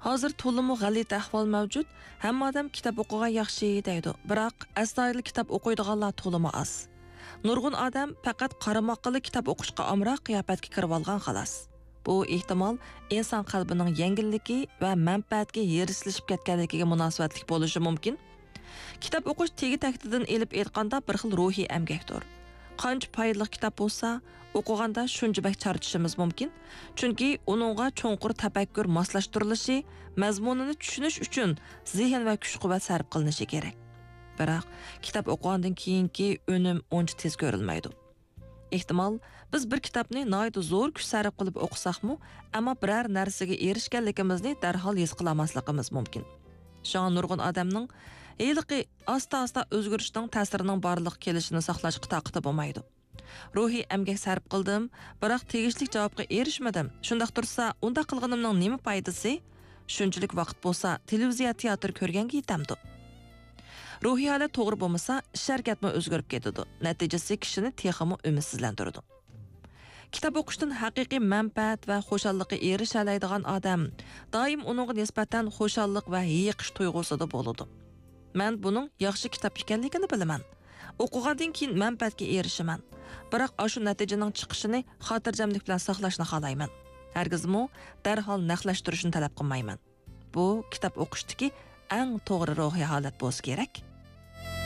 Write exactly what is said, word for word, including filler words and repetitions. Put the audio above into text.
ھازىر تولىمۇ غەلىتە ئەھۋال مەۋجۇت، ھەممە ئادەم كىتاب ئوقۇغان ياخشى دەيدۇ، بىراق ئەستايىدىل كىتاب ئوقۇيدىغانلار تولىمۇ ئاز. نۇرغۇن ئادەم پەقەت قارىماققىلا كىتاب ئوقۇشقا ئامراق قىياپەتكە كىرىۋالغان خالاس. بۇ ئېھتىمال ئىنسان قەلبىنىڭ يەڭگىللىكى ۋە مەنپەئەتكە ھېرىسلىشىپ كەتكەنلىكىگە مۇناسىۋەتلىك بولۇشى مۇمكىن. كىتاب ئوقۇش تېگى-تەكتىدىن ئېلىپ ئېيتقاندا بىر خىل روھىي ئەمگەكتۇر. قانچە پايدىلىق كىتاب بولسا، ئوقۇغاندا شۇنچە بەك چارچىشىمىز مۇمكىن. چۈنكى ئۇنىڭغا چوڭقۇر تەپەككۇر ماسلاشتۇرۇلۇشى، مەزمۇنىنى چۈشىنىش ئۈچۈن زېھىن ۋە كۈچ-قۇۋۋەت سەرپ قىلىنىشى كېرەك. بىراق، كىتاب ئوقۇغاندىن كېيىنكى ئۈنۈم ئۇنچە تېز كۆرۈلمەيدۇ. ئېھتىمال، بىز بىر كىتابنى ناھايىتى زور كۈچ سەرپ قىلىپ ئوقۇساقمۇ، ئەمما بىرەر نەرسىگە ئېرىشكەنلىكىمىزنى دەرھال ھېس قىلالماسلىقىمىز مۇمكىن. شۇڭا نۇرغۇن ئادەمنىڭ ھېلىقى ئاستا-ئاستا ئۆزگىرىشنىڭ تەسىرىنىڭ بارلىققا كېلىشىنى ساقلاشقا تاقىتى بولمايدۇ. روھىي ئەمگەك سەرپ قىلدىم، بىراق تېگىشلىك جاۋابقا ئېرىشمىدىم. شۇنداق تۇرسا، ئۇنداق قىلغىنىمنىڭ نېمە پايدىسى؟ شۇنچىلىك ۋاقىت بولسا، تېلېۋىزىيە، تىياتىر كۆرگەنگە يېتەمدۇ؟ روھىي ھالەت توغرا بولمىسا، ئىش-ھەرىكەتمۇ ئۆزگىرىپ كېتىدۇ. نەتىجىسى كىشىنى تېخىمۇ ئۈمىدسىزلەندۈرىدۇ. كىتاب ئوقۇشتىن ھەقىقىي مەنپەئەت ۋە خۇشاللىققا ئېرىشەلەيدىغان ئادەم دائىم ئۇنىڭغا نىسبەتەن خۇشاللىق ۋە ھېيىقىش تۇيغۇسىدا بولىدۇ. مەن بۇنىڭ ياخشى كىتاب ئىكەنلىكىنى بىلىمەن. ئوقۇغاندىن كېيىن مەنپەئەتكە ئېرىشىمەن. بىراق ئاشۇ نەتىجىنىڭ چىقىشىنى خاتىرجەملىك بىلەن ساقلاشنى خالايمەن. ھەرگىزمۇ دەرھال نەقلەشتۈرۈشنى تەلەپ قىلمايمەن. بۇ كىتاب ئوقۇشتىكى ئەڭ توغرا روھىي ھالەت بولسا كېرەك.